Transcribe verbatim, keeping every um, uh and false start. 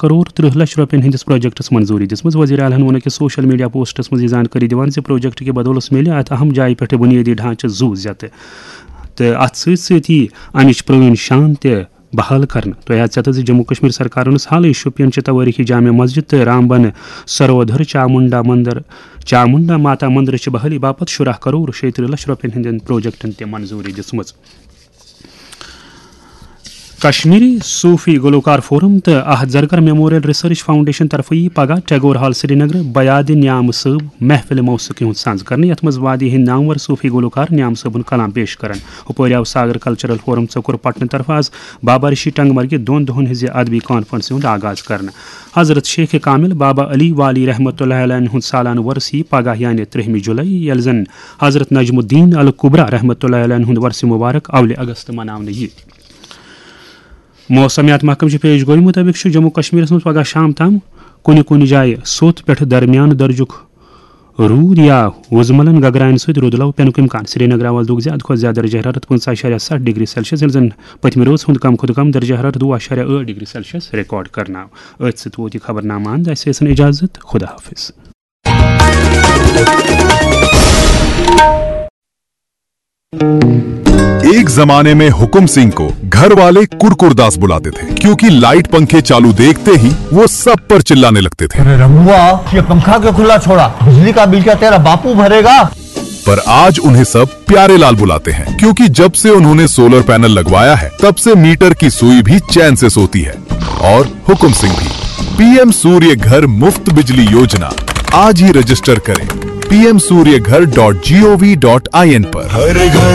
کرور ترٕہ لچھ رۄپین ہٕنٛدِس پروجیکٹس منظوٗری دِژمٕژ۔ وزیر اعلیٰ ہَن ووٚن أکِس سوشل میڈیا پوسٹس منٛز یہِ زانکٲری دِوان زِ پروجیکٹ کہِ بدولس میلہِ اتھ اہم جایہِ پٮ۪ٹھ بُنیٲدی ڈھانچہٕ زُو زیتہٕ تہٕ اتھ سۭتۍ سۭتۍ یِیہِ امِچ پرٲنۍ شان تہِ بحال کرنہٕ۔ تۄہہِ آسہِ ژےٚ تہٕ زِ جموں کشمیر سرکارن ٲس حالٕے شُپین چہِ توٲریخی جامع مسجد تہٕ رامبن سرودھر چامنڈا مندر، چامنڈا ماتا مندرٕچہِ بحالی باپتھ شُراہ کرور شیٚیہِ ترٕہ لچھ رۄپین ہٕنٛدٮ۪ن پروجیکٹن تہِ منظوٗری دِژمٕژ۔ کشمیری صوفی گلوکار فورم تہٕ احد زرگر میموریل ریسرچ فاؤنڈیشن طرفہٕ یی پگاہ ٹیگور ہال سرینگر بیاد نیام صٲب محفل موسیقی ہُنٛد سانز کرنہٕ، یتھ منٛز وادی ہٕنٛدۍ نامور صوفی گلوکار نیام صٲبُن کلام پیش کرن۔ ہُپٲرۍ آو ساگر کلچرل فورم ژۄکُر پٹنہٕ طرفہٕ آز بابا رشی ٹنگ مرگہِ دۄن دۄہن ہٕنٛزِ ادبی کانفرنسہِ ہُنٛد آغاز کرنہٕ۔ حضرت شیخ کامل بابا علی والی رحمتہ اللہ علیہ ہُنٛد سالانہٕ وۄرثہٕ یی پگاہ یعنی ترٛہمہِ جولائی، ییٚلہِ زن حضرت نجم الدین الکبریٰ رحمتہ اللہ علیہ ہُنٛد وۄرثہٕ مبارک اولہِ اگست مناونہٕ یی۔ موسمیات محکمہٕ چہِ پیش گویی مُطٲبِق چھُ جموں کشمیرس منٛز پگاہ شام تام کُنہِ کُنہِ جایہِ سوٚت پٮ۪ٹھٕ درمیان درجُک روٗد یا وُزملن گگراین سۭتۍ روٗدٕ لو پینُک امکان۔ سرینگر آواز لوٚگ زیادٕ کھۄتہٕ زیادٕ درجہ حرارت پنٛژاہ اَشاریہ ستھ ڈگری سیلسیس، ییٚلہِ زن پٔتمہِ رٲژ ہُنٛد کم کھۄتہٕ کم درجہ حرارت وُہ اَشاریہ ٲٹھ ڈگری سیلسیس ریکارڈ کرنہٕ آو۔ أتھۍ سۭتۍ ووت یہِ خبرنامہٕ اند۔ اسہِ ٲسن اجازت۔ خدا حافظ۔ एक जमाने में हुकुम सिंह को घर वाले कुरकुरदास बुलाते थे, क्योंकि लाइट पंखे चालू देखते ही वो सब पर चिल्लाने लगते थे। अरे रमुआ, ये पंखा क्यों खुला छोड़ा? बिजली का बिल क्या तेरा बापू भरेगा? पर आज उन्हें सब प्यारे लाल बुलाते हैं, क्योंकि जब से उन्होंने सोलर पैनल लगवाया है, तब से मीटर की सुई भी चैन से सोती है। और हुकुम सिंह भी। पीएम सूर्य घर मुफ्त बिजली योजना, आज ही रजिस्टर करें पीएम सूर्य घर डॉट जीओवी डॉट आईएन पर। हर घर